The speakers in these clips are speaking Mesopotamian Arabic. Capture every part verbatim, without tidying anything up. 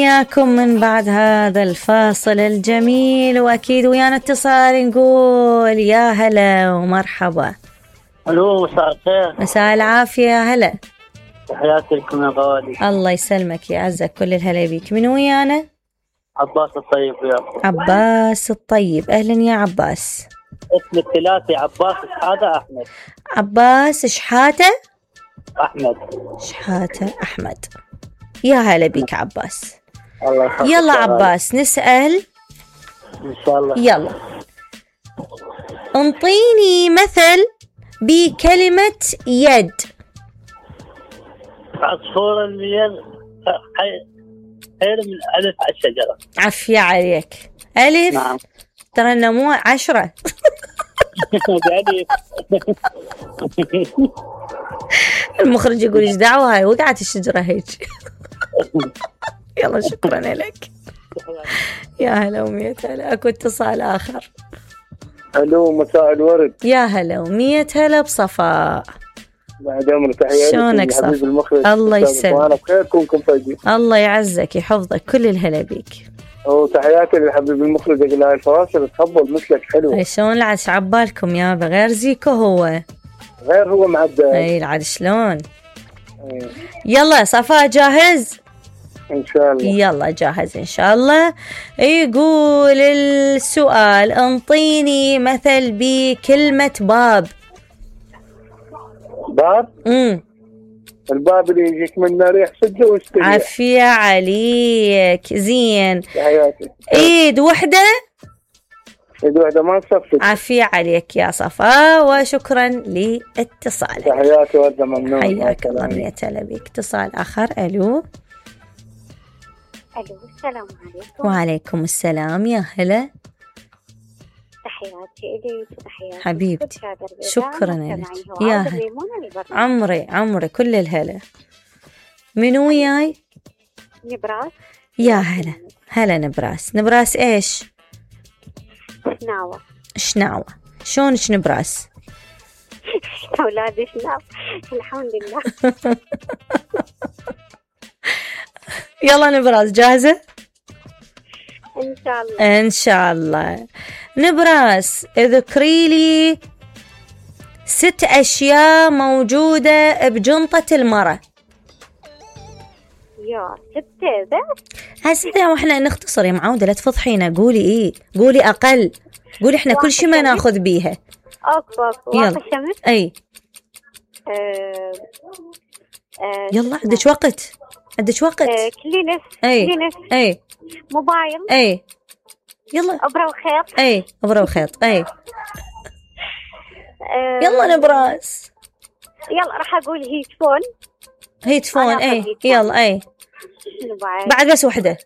وياكم من بعد هذا الفاصل الجميل، وأكيد ويانا اتصال نقول يا هلا ومرحبا. الو، مساء الخير. مساء العافية. يا هلا، تحياتي لكم يا غالي. الله يسلمك يا عزك، كل الهلا بيك. من ويانا؟ عباس الطيب وياكم. عباس الطيب، أهلا يا عباس. اسم الثلاثي عباس شحاتة أحمد. عباس شحاتة أحمد. شحاتة أحمد، يا هلا بيك عباس. الله يخليك. يلا عباس نسأل إن شاء الله. يلا انطيني مثل بكلمة يد. عصفور الميل خير من ألف على الشجرة. عفية عليك. ألف؟ نعم. ترى النمو عشرة. المخرج يقول ايش دعوة، هاي وقعت الشجرة هيك. يلا شكرا لك. يا هلا ومية هلا. اكو اتصال آخر. الو، مساء الورد. يا هلا ومية هلا بصفاء. بعد عمرك، تحياتي. شلونك صح؟ الله يسلمك. بخيركم كم طيبين. الله يعزك يحفظك، كل الهلا بيك. وتحياتي للحبيب المخرج اقول هاي الفواصل تفضل مثلك حلو. شلون العد عبالكم يابا؟ غير زيكو هو غير هو معدل. اي العد شلون. يلا صفاء جاهز ان شاء الله؟ يلا جاهز ان شاء الله. يقول السؤال انطيني مثل بكلمة باب. باب؟ امم الباب اللي يجيك منه ريح سده واستريح. عافية عليك. زين. تحياتي. ايد وحدة. ايد وحدة ما تصفق. عافية عليك يا صفاء، وشكرا لاتصالك. تحياتي وردة، ممنون. حياك الله. مية هلا بيك. اتصال آخر. الو. الو، السلام عليكم. وعليكم السلام. يا هلا. تحياتي إليك وتحياتي حبيبتي. شكرا لك. يا هلا. عمري عمري كل الهلا. من وياي؟ نبراس. يا هلا. هلا نبراس. نبراس ايش؟ شناوة. شناوة. شلونك نبراس؟ أولادي شناوة الحمد لله. يلا نبراس جاهزة؟ إن شاء الله. إن شاء الله. نبراس اذكري لي ست أشياء موجودة بجنطة المرأة. يا ستة بس؟ هسه واحنا نختصر يا معودة، لا تفضحينا. قولي ايه، قولي أقل، قولي احنا كل شيء ما ناخذ بيها. أوكي أوكي. واقع الشمس. أي. أه... أه... يلا عندك وقت، عندك وقت. أه... كلينس. أي. كلينس. أي. موبايل. أي. يلا. أبرة وخيط. أي. أبرة وخيط. أي. أه... يلا نبراس. يلا راح أقول هيتفون. هيتفون. أي. يلا. أي. موبايل. بعد بس وحدة.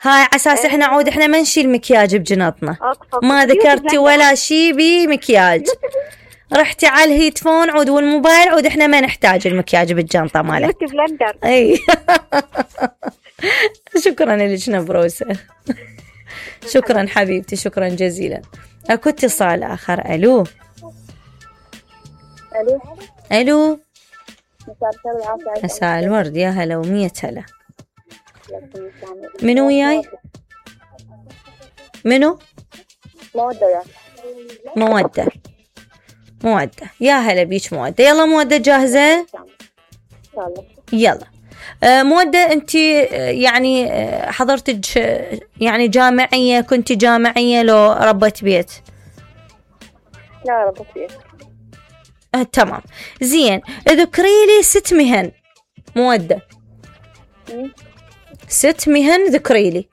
هاي على اساس احنا عود احنا ما نشيل مكياج بجنطنا. ما ذكرتي ولا شي بمكياج. رحتي على الهيتفون عود والموبايل عود احنا ما نحتاج المكياج بالجنطة مالك. اي. شكرا لك نبروسة. شكرا حبيبتي، شكرا جزيلا. اكو اتصال اخر. الو. الو. الو. مساء الخير والعافية. مساء الورد. يا هلا ومية هلا. منو وياي؟ منو؟ مودة. مودة. مودة. يا هلا بيش مودة. يلا مودة جاهزة؟ يلا. آه مودة انت يعني آه حضرتك يعني جامعية، كنت جامعية لو ربت بيت؟ لا ربت بيت. آه تمام. زين، اذكري لي ست مهن. مودة. ست مهن ذكري لي.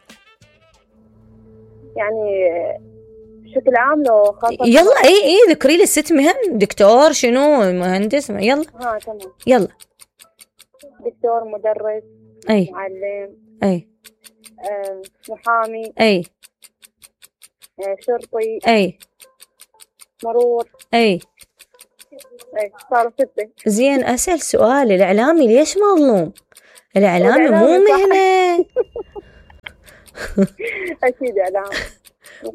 يعني بشكل عام لو خاصة. يلا. اي اي ذكري لي ست مهن. دكتور، شنو، مهندس، يلا. ها تمام. يلا. دكتور، مدرس. اي. معلم. اي. آه، محامي. اي. آه، شرطي. اي. مرور. اي. اي صاروا ستة. زين، اسأل سؤال، الاعلامي ليش مظلوم؟ الاعلامي مو مهنة. اكيد اعلام.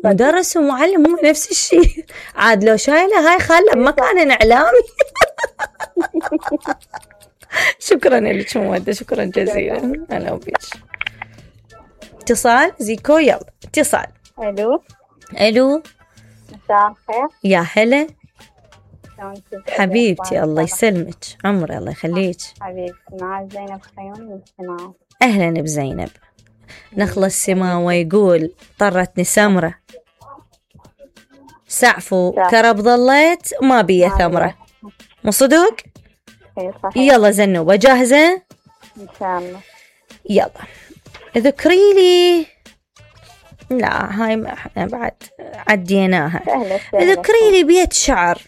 مدرس ومعلم مو نفس الشيء. عاد لو شايله هاي خاله بمكان اعلامي. شكرا لك مودة، شكرا جزيلا. هلا وبيش. اتصال زيكو. يلا اتصال. الو الو مساء الخير. يا هلا شلونك حبيبتي، الله يسلمك عمري الله يخليك. حبيبتي مع زينب خيون من السماوة. اهلا بزينب. نخلص سماوة يقول طرتني سمرة سعفو كرب ظليت ما بيا ثمرة، مو صدق؟ اي صحيح. يلا زنوبة جاهزة؟ ان شاء الله. يلا ذكري لي. لا هاي ما احنا بعد عديناها. سهلة سهلة. ذكري لي بيت شعر.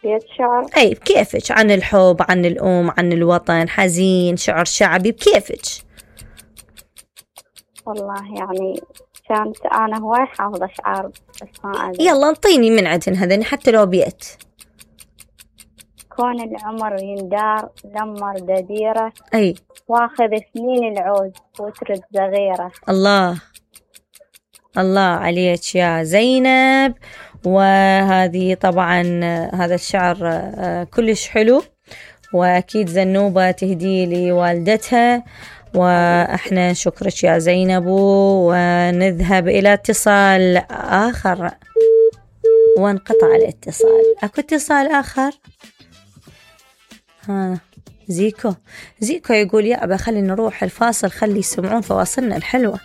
بيت شعر. اي بكيفك، عن الحب، عن الام، عن الوطن، حزين، شعر شعبي، بكيفك. والله يعني كانت انا هواي حافظة شعر بس ما ادري. يلا انطيني من عندهن هذين حتى لو بيت. كون العمر يندار لمر دديرة، اي واخذ سنين العود وترد صغيرة. الله الله عليك يا زينب. وهذه طبعا هذا الشعر كلش حلو، واكيد زنوبة تهدي لي والدتها. واحنا نشكرك يا زينب، ونذهب الى اتصال اخر. وانقطع الاتصال. اكو اتصال اخر. ها زيكو زيكو يقول يا ابا خلي نروح الفاصل، خلي يسمعون فواصلنا الحلوة.